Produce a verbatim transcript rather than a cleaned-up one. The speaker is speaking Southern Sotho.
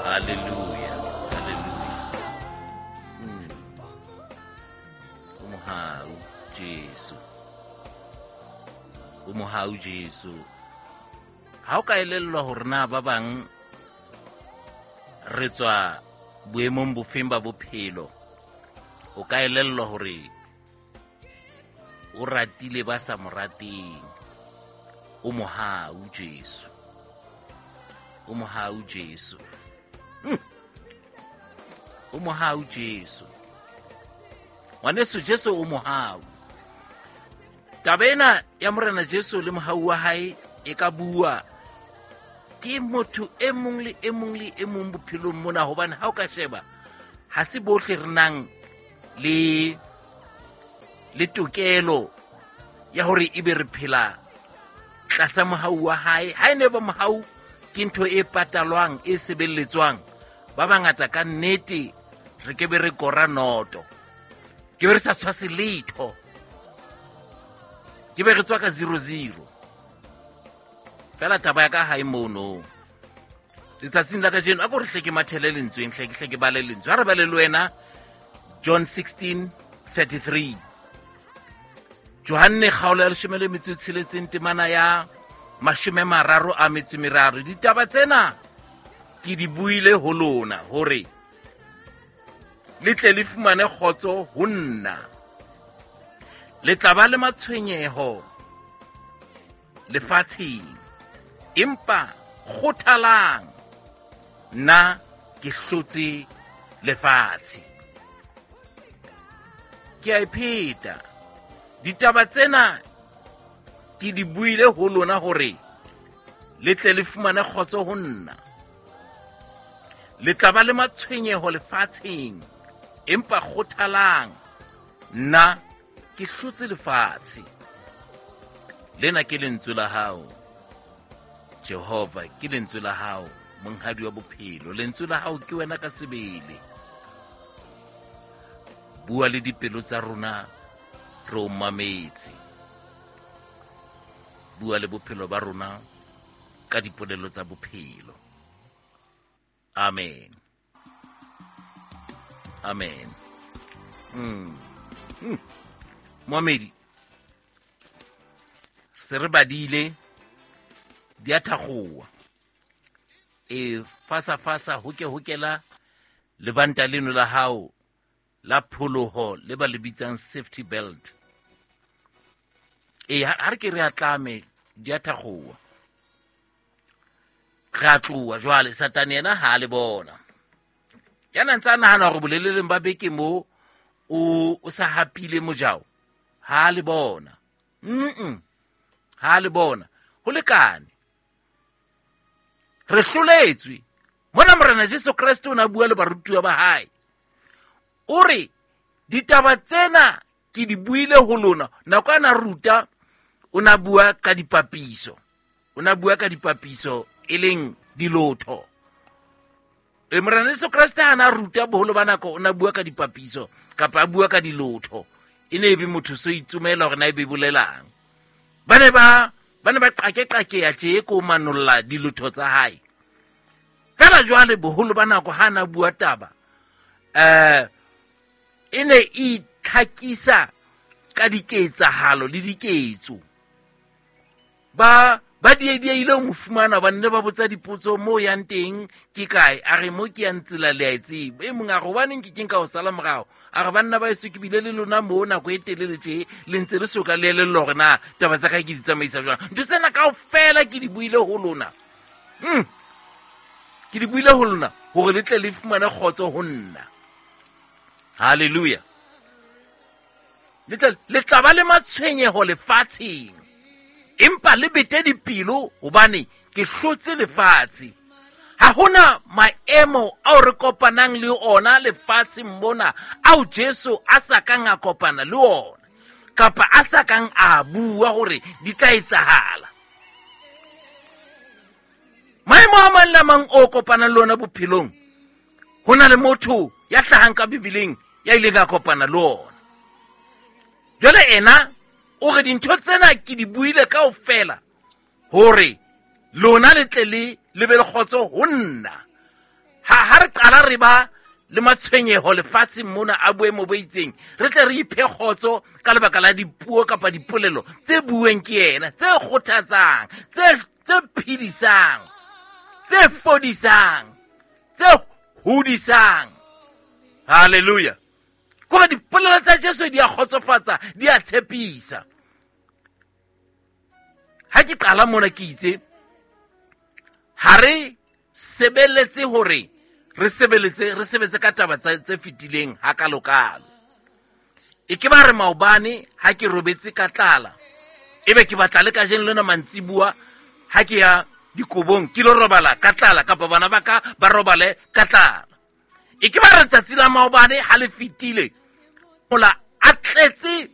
Hallelujah, hallelujah. Mm. O mohau Jesu, o mohau Jesu. Ha o ka elellwa hore na ba bang re tswa boemong bofeng ba bophelo, o ka elellwa hore o ratile ba sa mo rateng. O mohau Jesu, o mohau Jesu. Mm. O mohau Jesu. Ngwaneso, Jesu o mohau. Taba ena ya Morena Jesu le mohau wa hae e ka bua ke motho e mong le e mong le e mong bophelong mona, hobane ha o ka sheba ha se bohle re nang le le tokelo ya hore ebe re phela tlasa mohau wa hae. Ha e ne ba mohau ke ntho e patalwang, e sebeletswang, ba bangata ka nnete re ke be re kora noto, ke be re sa tshwase letho, ke be re tswa ka zero zero. Fela taba ya ka ha e mono. Letsatsing la kajeno, a ko re hle ke mathele lentsweng, hle ke hle ke bale lentswe. Ha re bale le wena John sixteen thirty-three. Johanne kgaolo ya leshome le metso e tsheletseng, temana ya mashome mararo a metso e meraro. Ditaba tsena ke di buile ho lona hore le tle le fumane kgotso ho nna. Le tla ba le matshwenyeho lefatsheng, empa kgothalang, nna ke hlotse lefatshe. Ke a e pheta. Ditaba tsena ke di buile ho lona hore le tle le fumane kgotso ho nna. Le tla ba le matshwenyeho lefatsheng, empa kgothalang, nna ke hlotse lefatshe. Lena ke lentswe la hao Jehova, ke lentswe la hao monghadi wa bophelo. Lentswe la hao ke wena ka sebele. Bua le dipelo tsa rona, re o mametse. Bua le bophelo ba rona ka dipolelo tsa bophelo. Amen, amen. Mm. Mm. Moamedi, se re badile di a thakgowa. E fasa fasa hoke hokela lebanta leno la hao la pholoho le ba le bitsang safety belt. E ha re ke re atlame di a thakgowa. Re a tloha jwale, Satane yena ha le bona. Ya na ntse a nahana hore boleleleng ba beke mo o o sa hapile mojao, ha le bona. Mm-mm. Ha le bona. Ho lekane. Re hloletswe. Mona Morena Jesu Kreste o na bua le barutuwa ba hae. O re ditaba tsena ke di buile ho lona. Nako ana ruta o na bua ka dipapiso. O na bua ka dipapiso e leng dilotho. E Morena Jesu Kreste ha na ruta boholo ba nako o na bua ka dipapiso kapa a bua ka dilotho. E ne e be motho so itsomela hore na e be bolelang. Ba ne ba ba ne ba qake-qake ya tje ko manolla dilotho tsa hae. Fela jwale boholo ba nako ha na bua taba, eh e ne e itlhakisa ka diketsahalo le diketso. Ba ba diedieile ho mo fumana, ba nne ba botsa dipotso mo yang teng ke kae, a re mo ke yang tsela le a e tseba. E mong a re hobaneng ke keng ka ho sala morao, a re banna ba eso ke bile le lona mo nako e telele tje, le ntse le soka le elellwa hore na taba tsa kae ke di tsamaisa jwang. Ntho tsena kaofela ke di buile ho lona. Mm. Ke di buile ho lona hore le tle le fumane kgotso ho nna. Hallelujah. Le tla le tla ba le matshwenyeho lefatsheng, empa le bete dipelo hobane ke hlotse lefatshe. Ha hona maemo ao re kopanang le ona lefatsheng mona ao Jesu a sa kang a kopana le ona, kapa a sa kang a bua hore di tla etsahala. Maemo a mang le a mang o kopanang le ona bophelong, ho na le motho ya hlahang ka Bibeleng ya ileng a kopana le ona. Jwale ena o re dintho tsena ke di buile kaofela hore lona le tle le le be le kgotso ho nna. Ha qala re ba le matshwenyeho lefatsheng mona a boemo bo itseng, re tle re iphe kgotso ka lebaka la dipuo kapa dipolelo tse bueng ke yena, tse kgothatsang, tse tse phedisang, tse fodisang, tse hodisang. Halleluja. Kore dipolelo tsa Jesu di a kgotsofatsa, di a tshepisa. Ha ke qala mona ke itse ha re sebeletse hore re sebeletse re sebetse ka taba tse fetileng hakalokalo. E ke ba re maobane ha ke robetse ka tlala, ebe ke batla le kajeno lena mantsibua ha ke ya dikobong ke lo robala ka tlala, kapa bana ba ka ba robale ka tlala. E ke ba re tsatsi la maobane ha le fetile, mola a tletse